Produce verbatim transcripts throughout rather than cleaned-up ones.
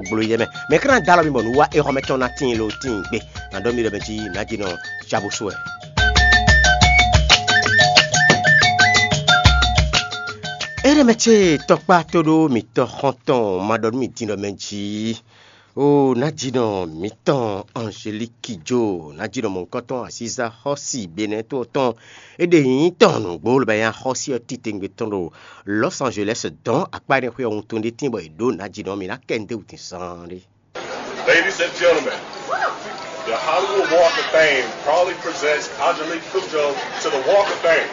gblo yɛ mɛ. Mɛ ka ná dó alɔ mi bɔ nǔ wa éhɔ́mɛ tɔn ná tíin lo tíin gbe. Nǎ ɖɔ mi ɖɔ mɛ jí nǎ jí nɔ cabusu wɛ. Éɖɛmɛ ce tɔkpá tóɖó mitɔ xɔ́ntɔn ma ɖɔ nú mi din ɖɔ mɛ jí. O nǎjínɔ mǐtɔn Angeliki Jo, nǎjínɔ mɔ̌hunkɔtɔn Aziza xɔ́si Benɛ́ to ɔ́ tɔn, é ɖe nyǐnyí tɔn nǔgbó lobɛ́ nyá xɔ́si ɔ́ titewungbe tɔn ɖo Los Angeles dɔn akpá énɛ́ xwé ɔ́ wuntun ɖé tíin bɔ è ɖǒ nǎjínɔ mǐ ná kɛ nǔ ɖé wǔ din zaan ɖé. Ladies and gentlemen, the Hollywood Walk of Fame proudly presents Angelique Kidjo to the Walk of Fame.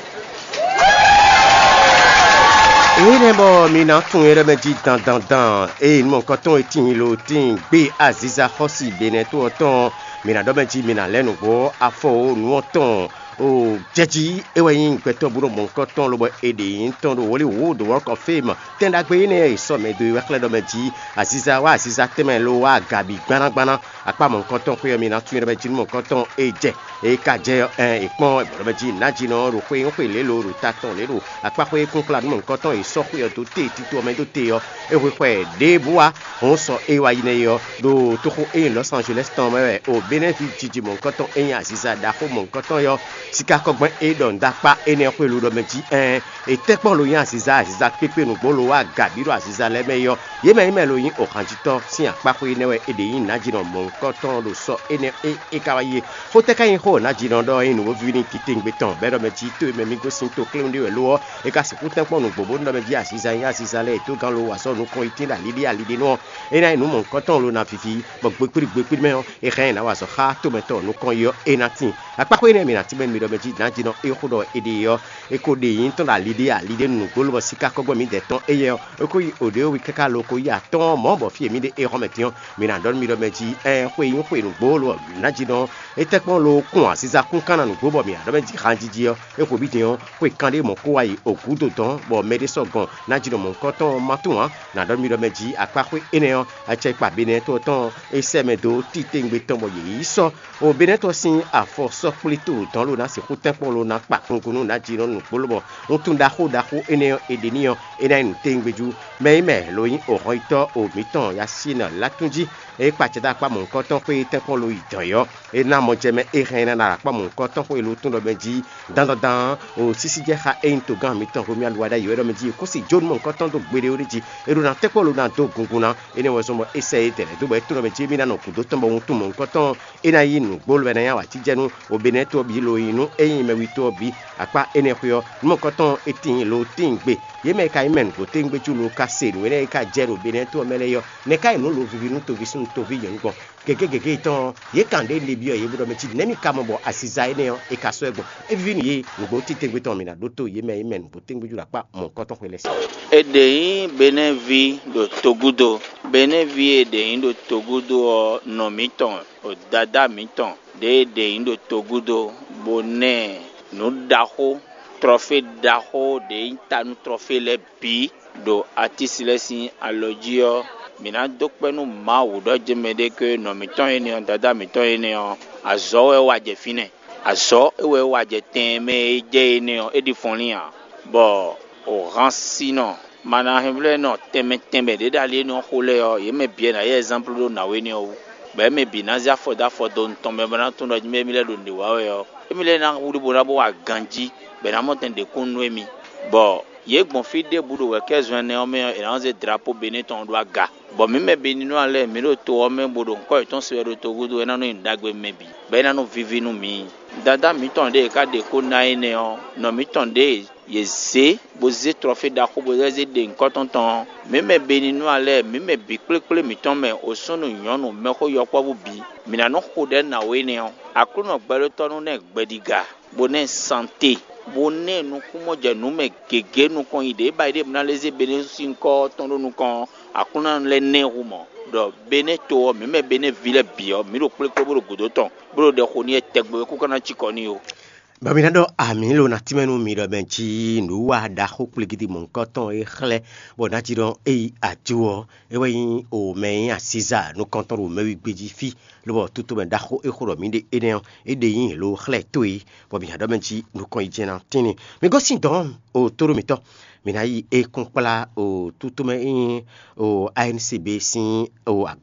Énɛ́ bɔ mi ná tunwun é ɖɔ mɛ jí dandandan, eye nú mɔ̌hunkɔtɔn e tíin lo tíin gbé Aziza xɔ́si Benɛ́ to ɔ́ tɔn, mi ná ɖɔ mɛ jí mi ná lɛ́ nǔgbó afɔ ó nǔ ɔ́ tɔn. O jɛjí é wɛ nyí gbɛtɔ́ búɖo mɔ̌hunkɔtɔn lobɔ è ɖe nyǐ tɔn ɖo Hollywood Walk of Fame. Tɛn ɖagbe énɛ́ e sɔ́ mɛ dó é wɛ xlɛ́ ɖɔ mɛ jí Aziza wá Aziza tɛnmɛ lo wá aga bǐ gbannágbanná. Akpá mɔ̌hunkɔtɔn xwé ɔ́ mi ná tunwun ɖɔ mɛ jí nú mɔ̌hunkɔtɔn e jɛ é ka jɛ ɔ́, ɛn è kpɔ́n bɔ ɖɔ mɛ jí nǎjínɔ ɖo xwé nyɔ́xwé lě lo ɖo ta tɔn lě ɖo akpá xwé kúnkplá nú mɔ̌hunkɔtɔn e sɔ́ xwé ɔ́ dó te tito ɔ́ mɛ dó te ɔ́, é hwe xɔ ɛ ɖěbǔ wá. Hɔn sɔ é wá yi nɛ́ é ɔ́, ɖo toxo e nyí Lɔ̌s Angelɛ́si tɔn mɛ wɛ o Benɛ́vi jiji mɔ̌hunkɔtɔn e nyí aziza ɖaxó mɔ̌hunkɔtɔn é ɔ́, sikákɔ́gbɛ́n e ɖɔ nǔɖakpá énɛ́ xwé lo ɖɔ mɛ jí ɛɛn, è tɛ́ kpɔ́n lo nyí aziza aziza kpékpé nǔgbó lo wá aga bǐ ɖo aziza lɛ́ɛ mɛ é ɔ́, yě mɛ nyí mɛ lo nyí ohanjitɔ́ sín akpáxwé énɛ́ wɛ è ɖe nyí nǎjínɔ mɔ̌hunkɔtɔn ɖo sɔ énɛ́ e é ka wá yi é. Xó tɛ́ ka nyí xó nǎjínɔ ɖɔ é nyí nǔ ví n'i titewungbe tɔn, bɔ é ɖɔ mɛ jí to e mɛ mì gosín toklɛ́nú ɖé wɛ lo ɔ́, é ka sixú tɛ́nkpɔ́n nǔgbó bónú ɖɔ mɛ jí aziza nyí aziza lɛ́ɛ e dó gán lo wa sɔ́ nukɔn yi tín ɖo ali ɖé ali ɖé nú ɔ́, é ná nyí nǔ mɔ̌hunkɔtɔn lo ná viví, bɔ gbegbéɖigbegbéɖí mɛ ɔ́, è hɛn ɛ nǎ wa azɔ̌ xá tomɛtɔ́ nukɔn yi ɔ́, é ná tíin. Akpáxwé énɛ́ e mǐ ná tínmɛ nú mi ɖɔ mɛ jí nǎjínɔ é xó ɖɔ è ɖe é ɔ́, è ko ɖe nyǐtɔn ɖo ali ɖé ali ɖé nú nǔgbó lobɔ siká kɔ́gbɛ́n mǐdɛɛ tɔn éyɛ́ ɔ́, é ko yi oɖě wi káká lo ko yi atɔ́ɔ́n mɔ̌ bɔ fí e mǐ ɖe é xɔ́mɛ din ɔ́, mǐ ná ɖɔ nú mi ɖɔ mɛ jí ɛɛn xwe nyí xwe nǔgbó lobɔ nǎjínɔ é tɛ́ kpɔ́n lo kún aziza kún kán ná nǔgbó bɔ mǐ ná ɖɔ mɛ jí hanjiji ɔ́, é xo bǐ din ɔ́, xwe kanɖé mɔ̌ kó wá yi ògúdo dɔ̌n bɔ mɛɖé sɔ́ gɔn nǎjínɔ mɔ̌hunkɔtɔn ɔ́ ma tunwun ǎ. Nǎ ɖɔ nú mi ɖɔ mɛ jí akpáxwé énɛ́ ɔ́, acɛkpa Benɛ́tɔ́ tɔn é sɛ́ mɛ dó titewungbe tɔn bɔ yě yi sɔ́. O Benɛ́tɔ́ sín afɔ sɔ́ kplé to dɔn lo ná sixú tɛ́nkpɔ́n lo ná kpa kungún nú nǎjínɔ nǔgbó lobɔ wuntun ɖaxó ɖaxó énɛ́ ɔ́ è ɖe n'i ɔ́, é ná nyí nǔtewungbe jú. Mɛ e mɛ lo nyí ohɔnyitɔ́ o mǐtɔn Yasín Latúnjí, é kpa acɛ dó akpá mɔ̌hunkɔtɔn xwé tɛ́nkpɔ́n lo yi dɔ̌n é ɔ́, é ná mɔ jɛ mɛ é hɛn é ná ɖo akpá mɔ̌hunkɔtɔn xwé lo tún ɖɔ mɛ jí dandandan o sísí jɛ xá é nyí togán mǐtɔn Romuald Wadagni wɛ ɖɔ mɛ jí è kún si jó nú mɔ̌hunkɔtɔn dó gbeɖé ó ɖi jí é ɖó ná tɛ́nkpɔ́n lo ná dó gungun ná. Énɛ́ wɛ zɔ́n bɔ é sɛ é dɛ̌ lɛ̌ dó bɔ é tunɔ mɛ jí émí ná nɔ gǔdo tɔn bɔ wuntun mɔ̌hunkɔtɔn ɔ́, é ná yí nǔgbó lobɛ ná nyí awǎjijɛnú o Benɛ́tɔ́ ɔ́ bǐ lo nyi nú é nyí mɛwítɔ́ ɔ́ bǐ. Akpá énɛ́ xwé ɔ́, nú mɔ̌hunkɔtɔn e tíin lo tíin gbe, yě mɛ e ka nyí mɛ nǔgbó tégbéjú lo ka se nǔ énɛ́ e ka jɛ ɖo Benɛ́tɔ́ ɔ́ mɛ lɛ́ɛ é ɔ́, nɛ̌ ká nyí nǔ lo viví nú toví súnnu toví nyɔ̌nu gbɔn? Gěgé gěgé tɔn ɔ́, yě kan ɖě le byɔ́ yě bó ɖɔ mɛ cí nɛ̌ mi ka mɔ bɔ aziza énɛ́ ɔ́, è ka sɔ́ ɛ gbɔn? É ví nú yě, nǔgbó titewungbe tɔn mǐ ná ɖótó yě mɛ e nyí mɛ nǔgbó tégbéjú ɖo akpá mɔ̌hunkɔtɔn xwé lɛ́ɛ sí. È ɖe nyí Benɛ́ví ɖo togúdo. Benɛ́ví e è ɖe nyí ɖo togúdo ɔ́, nɔ mǐtɔn, o dadá mǐtɔn ɖě e è ɖe nyí ɖo togúdo, bó ná ɛ nǔ ɖaxó, trɔfé ɖaxó ɖě nyí ta nú trɔfé lɛ́ɛ bǐ ɖo atísi lɛ́ɛ sín alɔ jí ɔ́, mǐ ná dó kpɛ́ nú Mawu ɖɔ jɛ́n mɛɖé ké nɔ mǐtɔn énɛ́ ɔ́, dadá mǐtɔn énɛ́ ɔ́, azɔ̌ wɛ é wa jɛ fínɛ́. Azɔ̌ é wɛ é wa jɛ tɛn e mɛ e jɛ énɛ́ ɔ́, é ɖi fɔnlín ǎ, bɔ o Hansinɔ, Manahɛnvlɛ́nɔ tɛnmɛ tɛnmɛ ɖě ɖo ali énɛ́ ɔ́ xo lɛ́ɛ ɔ́, yě mɛ bǐ wɛ ná yí ɛzánplu ɖó nǎwe énɛ́ ɔ́ wú, bɔ émɛ bǐ ná zé afɔ dó afɔ dó nutɔn mɛ bó ná tunwun ɖɔ mɛ émí lɛ́ɛ ɖo nǔɖé wa wɛ ɔ́, émí lɛ́ɛ ná wlí bó ná bó wa ganjí, bɔ è nǎ mɔ tɛn ɖě kún nú émí, bɔ yě gbɔn fí ɖěbǔ ɖo wɛ̌kɛ́zɔn ɛnɛ ɔ́ mɛ ɔ́, è nǎ zé drapó Benɛ́ tɔn ɔ́ ɖó aga. Bɔ mǐ mɛ Beninúa lɛ́ɛ, mǐ ɖo to ɔ́ mɛ bó ɖo nyǐkɔ yětɔn se wɛ ɖo togúdo, é ná nɔ nyí ɖagbe mɛ bǐ, bɔ é ná nɔ víví nú mǐ. Dadá mǐtɔn ɖě e ka ɖe xó ná énɛ́ ɔ́, nɔ mǐtɔn ɖě e yě zě bó zé trɔfé ɖaxó bó zé ɖe nyǐkɔ tɔn tɔn ɔ́, mǐ mɛ Beninúa lɛ́ɛ, mǐ mɛ bǐ kplékplé mǐtɔn mɛ, o súnnu nyɔ̌nu, mɛxó yɔkpɔ́vú bǐ, mǐ ná nɔ xo ɖɛ̌ nǎwe énɛ́ ɔ́. Aklúnɔ gbɛɖótɔ́ nú ná ɛ gbɛɖiga, bó ná ɛ sante, bó ná ɛ nukúnmɔjɛnǔ mɛ gěgé nukɔn nyi ɖě ba yi ɖě bó ná lɛ́ zé Benɛ́ sín nyǐkɔ tɔn ɖó nukɔn ɔ́, Aklúnɔ lɛ́ ná ɛ hu mɔ̌, ɖɔ Benɛ́ to ɔ́, mǐ mɛ Benɛ́ ví lɛ́ɛ bǐ ɔ́, mǐ ɖo kplékplé bó ɖo gǔdo tɔn, bó ɖo ɖɛ xo n'i wɛ tɛgbɛ wɛ kú ka ná cikɔ n'i ó. Bɔ mi ná ɖɔ amǐ lo ná tínmɛ nú mi ɖɔ mɛ jí nǔwa ɖaxó kplígídí mɔ̌hunkɔtɔn e xlɛ́ bɔ ná jí ɖɔ é yi ajo ɔ́, é wɛ nyí o mɛ e nyí asíza nukɔntɔn ɖo mɛwígbé jí fí, lobɔ tutomɛ ɖaxó e xo ɖɔ mǐ ɖe énɛ́ ɔ́, é ɖe nyí lo xlɛ́ tó e, bɔ mǐ ná ɖɔ mɛ jí nukɔn yi jɛ́n ná tínni. Mi gosín dɔ̌n o tóɖó mǐtɔn, mǐ ná yi é kún kplá o tutomɛ e nyí o A N C B sín o